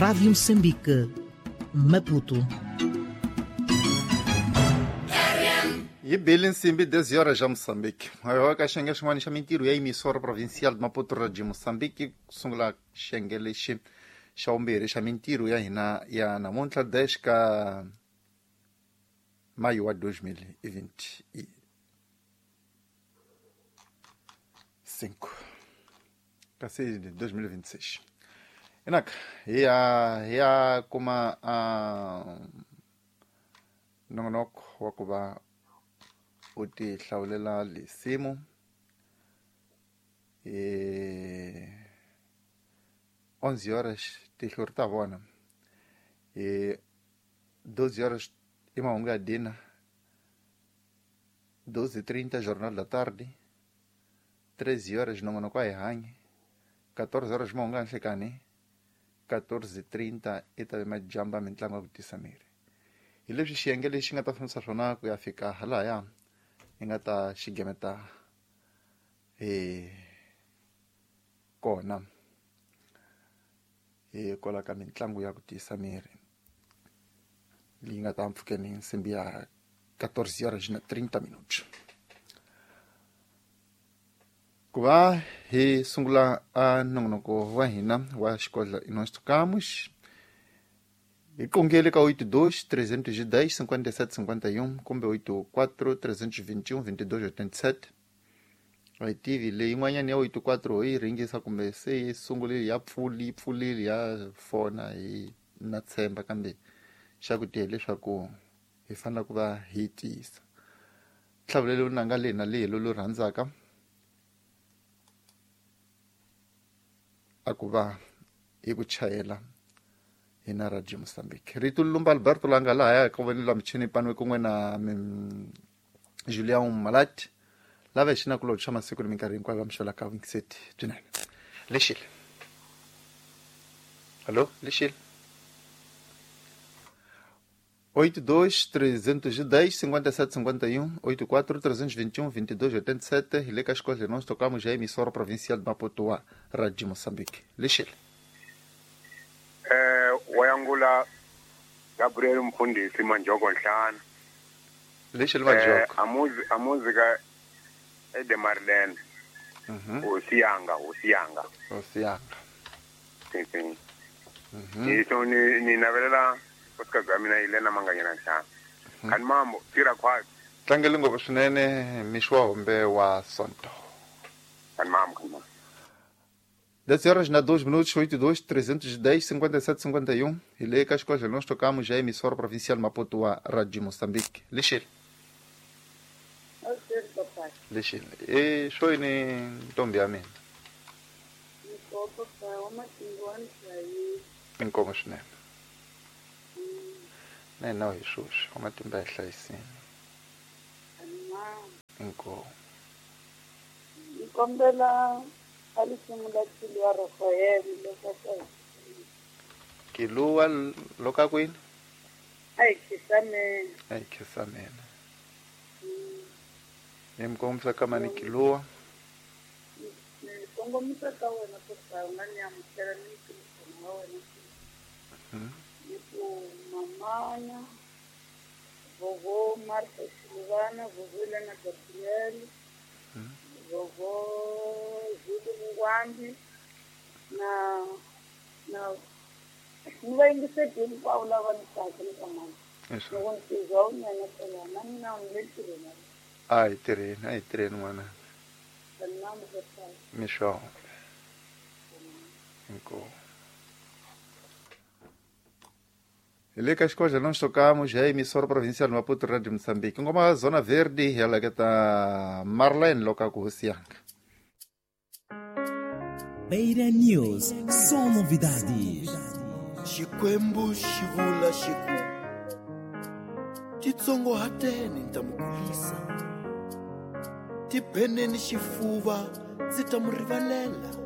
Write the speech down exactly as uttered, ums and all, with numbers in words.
Rádio Moçambique, Maputo. Yi bile nsimbi dez horas já Moçambique. Maior ka xiyenge xin'wana xa mintirho ya emissora provincial de Maputo Radio Moçambique ku sungula xiyenge lexi xa vumbirhi xa mintirho ya hina ya namuntlha dez ka maio wa dois mil e vinte e cinco. Kasi dois mil e vinte e seis. Inaka, hi ya hi ya kuma a nongonoko wa ku va u ti hlawulela lisimu e onze horas tihlo ri ta vona e doze horas i mahungu ya dina doze e trinta jornal da tarde treze horas nongonoko a hi hanyi quatorze horas mahungu ya nhlekani quatorze e trinta i ta ve majamba mintlangu ya ku tisa miri hi leswi xiyenge lexi nga ta fambisa swona ku ya fika halaya hi nga ta xigemeta hi kona hi kwala ka mitlangu ya ku tiyisa miri leyi nga ta mpfhukeni nsimbi ya quatorze horas na trinta minutos. Ku va hi sungula a nongonoko wa hina wa Xikodla e Nós Tocamos hi qongele ka oito dois, trezentos e dez, cinquenta e sete cinquenta e um kumbe oito quatro, trezentos e vinte e um, vinte e dois oitenta e sete. A hi tivi leyi yin'wanyana ya oito quatro hi ringisa kumbe se yi sungulile ya pfuli yi pfulile ya fona hi na tshemba kambe xa ku tiya leswaku hi fanele ku va hi tiyisa hlawulelo nanga leyi na leyi lolu rhandzaka a ku va hi ku chayela hina Radio Moçambique. Rito Lumba Alberto langa laha ka vonelo la michini panwe kun'we na Julian Malati lava hi xinakulobye xa masiku ni minkarhi hinkwayo va mixela ka Wingseti byinene. Lexile. Alô, Lexile. oito dois, trezentos e dez, cinquenta e sete cinquenta e um, oito quatro, trezentos e vinte e um, vinte e dois oitenta e sete. Hi le ka Xikodla Nós Tocamos já emissora provincial de Maputo, Radio Moçambique. Lexile. Eh wayangula Gabriel Mfundisi Manjoko Nhlana. Lexile Manjoko. Eh amuzi amuzika Ede Marlene. Mhm. Osiyanga, Osiyanga. Osiyanga. Sim, sim. Mhm. Iso ni ni navelela nkosikazi wa mina Elena Manganyana Nhlana. Kani mambo tira kwa tlangele ngopfu swinene mixo wa hombe wa Sonto. Kani mambo, kani mambo. dez horas na dois minutos, oito dois, trezentos e dez, cinquenta e sete cinquenta e um. Hi le ka Xikodla Nós Tocamos já emissora provincial Maputo a Radio Moçambique. Lexile. Lexile. E xoyini ntombi ya mina. Inkomo swinene. Na hina hi swoswi wa matimba ya hlayisini. Inkomo. Nkombela a risimu la Kiluwa Rafael loko Kiluwa loka kwini? A hi khisameni. A hi khisameni. Ni mi kongomisa ka mani Kiluwa? Ni kongomisa ka wena papa u nga ni amukela ni ntirhisano wa wena. Ni ku mamana vovo Martha Silvana, vovo Elena Gabriel, vovo Júlio Mungwambi na na ni va yingiseti hinkwavo lava ni tsaka ni ka mani. Loko ni tizwa u nyanetela na mina ni le ntirhweni. A hi tirheni, a hi tirheni n'wana. Mixo. Inkomu. Hi le ka Xikodla Nós Tocamos já emissora provincial Maputo Radio Moçambique. Ngoma Zona Verde hi heleketa Marlene loka ku Hosiyanga. Beira News, só novidades. Xikwembu xi vula xi ku titsongohateni ni ta mi kulisa, tibeneni xifuva ndzi ta mi rivalela.